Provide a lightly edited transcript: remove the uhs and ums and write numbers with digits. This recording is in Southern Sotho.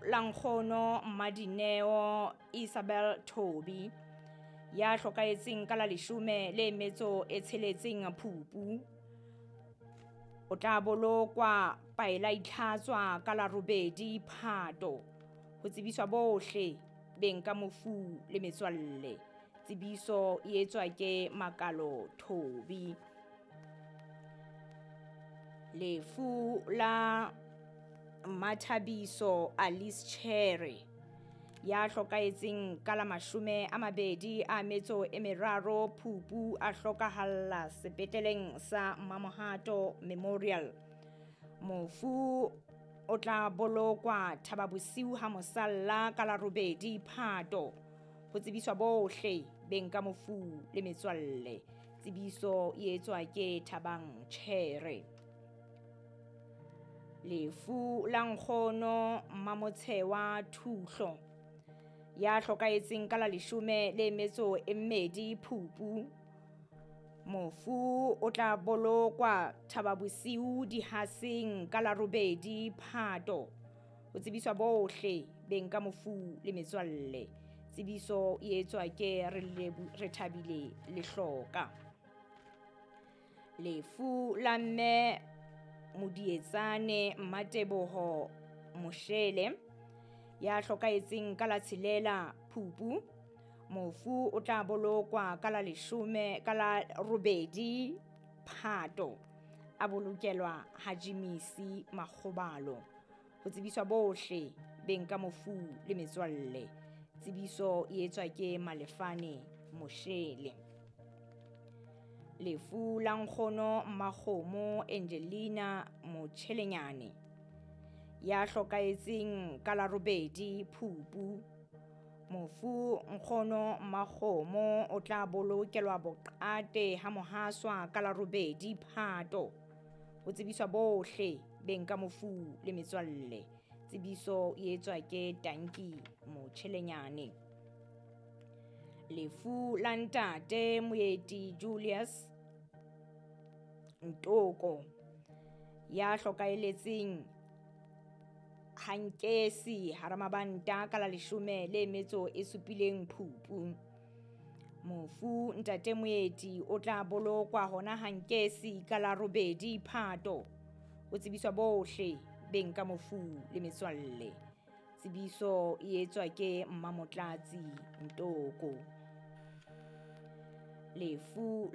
La nkgono Mmadineo Isabel Thobi ya hlokahetseng ka la 16 Phupu, o tla bolokwa Paela Itlhatswa ka la 8 Phato. Ho tsebiswa bohle beng ka mofu le metswalle. Tsebiso e etswa ke Makalo Thobi. Lefu la Mmathabiso Alice Chere ya hlokahetseng ka la 23 Phupu, a hlokahalla sepetleleng sa Mamohato Memorial. Mofu o tla bolokwa Thababosiu ha mosalla ka la 8 Phato. Ho tsebiswa bohle beng ka mofu le metswalle. Tsebiso e etswa ke Thabang Chere. Lefu la nkgono Mmamotshewa Thuhlo ya hlokahetseng ka la 12 Phupu. Mofu o tla bolokwa Thababosiu Dihaseng ka la 8 Phato. Ho tsebiswa bohle beng ka mofu le metswalle. Tsebiso e etswa ke Rethabile Lehloka. Lefu la mme Modietsane Mmateboho Moshele ya hlokahetseng ka la 6 Phupu. Mofu o tla bolokwa ka la 10 ka la 8 Phato, a bolokelwa ha Jimisi Makgobalo. Ho tsebiswa bohle beng ka mofu le metswalle. Tsebiso e etswa ke Malefane Moshele. Lefu la nkgono Mmakgomo Angelina Motjhelenyane ya hlokahetseng ka la 8 Phupu. Mofu nkgono Mmakgomo o tla bolokelwa Boqate ha Mohaswa ka la 8 Phato. Ho tsebiswa bohle beng ka mofu le metswalle. Tsebiso e etswa ke Tanki Motjhelenyane. Lefu la ntate Moeti Julius Ntoko ya hlokahelletseng Hankesi hara mabanta ka la 17 Phupu. Mofu ntate Moeti o tla bolokwa hona Hankesi ka la 8 Phato. Ho tsebiswa bohle beng ka mofu le metswalle. Tsebiso e etswa ke Mmamotlatsi Ntoko. Lefu